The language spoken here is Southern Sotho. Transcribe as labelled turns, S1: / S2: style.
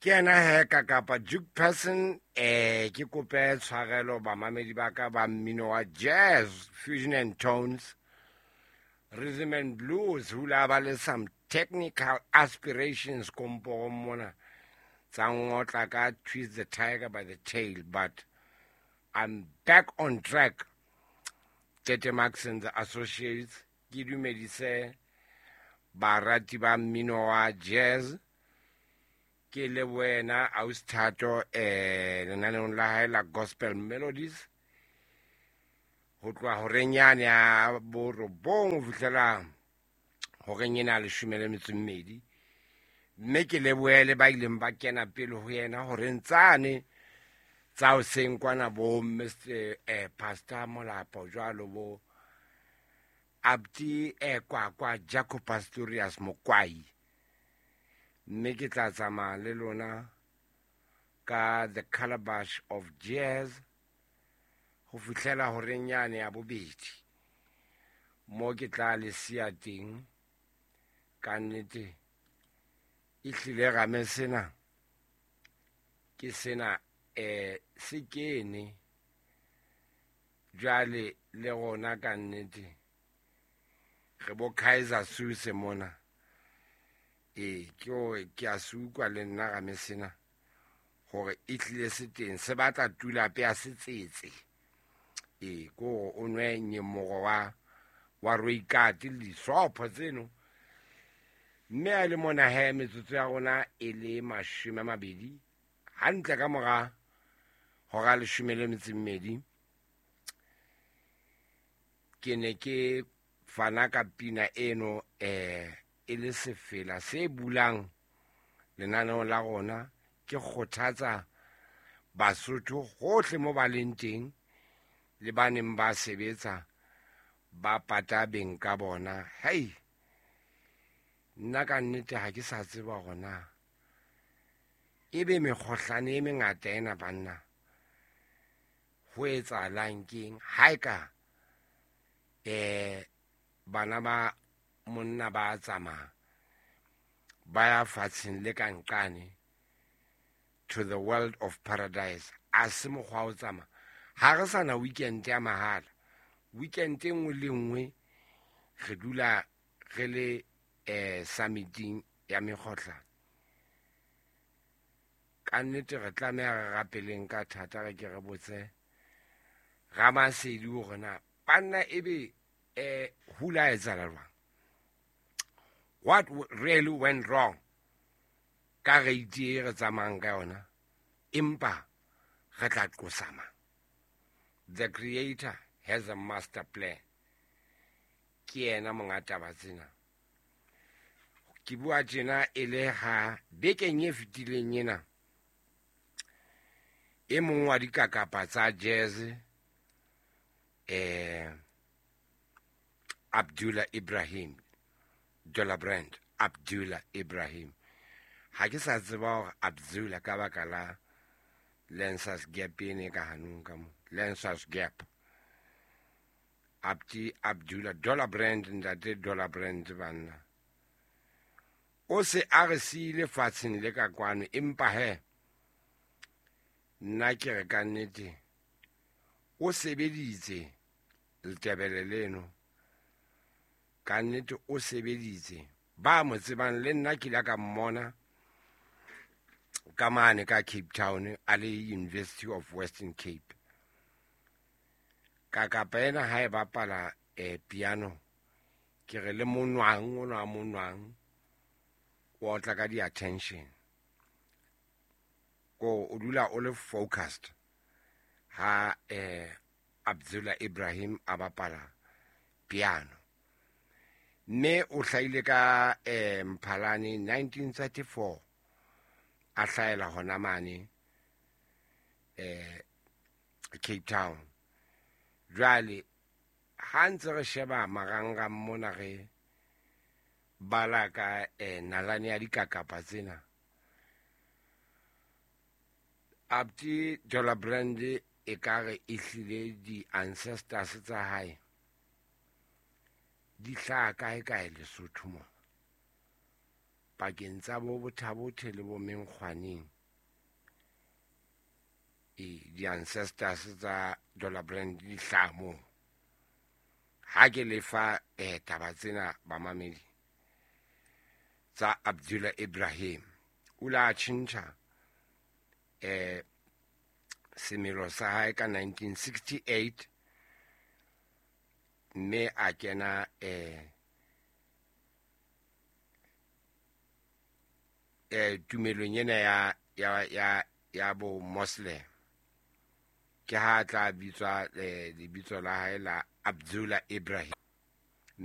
S1: Ke yena he ka kapa Duke Person. Ke kope tshwarelo bamamedi ba ka ba mmino wa jazz, fusion and tones, rhythm and blues. Hula ba le some technical aspirations komporong mona tsa ngotla ka twist the tiger by the tail, but I'm back on track. Tete Max and the Associates, ke dumedise barati ba mmino wa jazz. Ke le wena Ausithato lenaneong la hae la Gospel Melodies ho tloha horeng yane ya borobong ho fihlela horeng ena ya 12. Mme ke lebohele ba ileng ba kena pele ho yena horeng tsane tsa hoseng kwana, bo Mr Pastor Molapo jwalo, bo Abdi Kwakwa Jaco Pastorius Mokwai. Mme ke tla tsamaya le lona ka the calabash of jazz ho fihlela horeng yane ya bobedi, mo ke tla le siya teng. Ka nnete e hlile rame sena ke sena, se kene jwale le rona. Ka nnete re bo Kaizer Suse mona. Ke hore ke a se utlwa le nna rame sena hore e hlile se teng, se batla tulape ya setsetse. Ke hore o nwe nyemoro wa roikate le disopho tseno. Mme a le mona he, metsotso ya rona e le 20 hantle ka mora hora 12. Ke ne ke fana ka pina eno e le sefela se bulang lenaneo la rona. Ke kgothatsa Basotho hohle mo ba leng teng le ba neng ba sebetsa ba pata beng ka bona. Hei, nna ka nnete ha ke sa tseba hore na ebe mekgohlane e mengata ena banna ho etsahalang keng. Ha e ka bana ba monna ba tsamaya ba ya fatsheng le ka nqane to the world of paradise, a se mokgwa o tsamaya. Ha re sana weekend ya mahala, weekend e nngwe le nngwe re dula re le summiting ya mekgohlane. Ka nnete re tlameha re rapeleng ka thata, re ke re botse Ramasedi hore na banna ebe hula etsahala jwang, what really went wrong ka rate e re tsamayang ka yona. Empa re tla qosa mang? The creator has a master plan. Ke yena monga taba tsena. Ke bua tjena e le ha bekeng e fetileng ena e mong wa dikakapa tsa jazz, Abdullah Ibrahim, Dollar Brand Abdullah Ibrahim, ha ke sa tseba hore Abdullah ka baka la Lancers Gap ene ka hanong ka mo Lancers Gap, Abdi Abdullah Dollar Brand, ntate Dollar Brand banna, o se a re siile fatsheng le ka kwano. Empa he nna ke re ka nnete o sebeditse letebele leno, ka nnete o sebeditse. Ba mo tsebang le nna ke ile ka mmona ka mane ka Cape Town a le University of Western Cape. Ka kapa ena ha e bapala piano, ke re le monwang ona wa monwang o otla ka di-attention, ko o dula o le focused ha Abdullah Ibrahim a bapala piano. Mme o hlahile ka Mphalane 1934, a hlahela hona mane Cape Town. Jwale ha ntse re sheba marangrang mona re bala ka nalane ya dikakapa tsena, Abdi Dollar Brand e ka re e hlile di-ancestors tsa hae di hlaha kae kae Lesotho mona. Pakeng tsa bo Bothabothe le bo Menkgwaneng, e di-ancestors tsa Dollar Brand di hlaha moo. Ha ke lefa taba tsena bamamedi tsa Abdullah Ibrahim, o la tjhentjha semelo sa hae ka 1968, mme a kena tumelong ena ya bo Muslim. Ke ha tla bitswa lebitso la hae la Abdullah Ibrahim.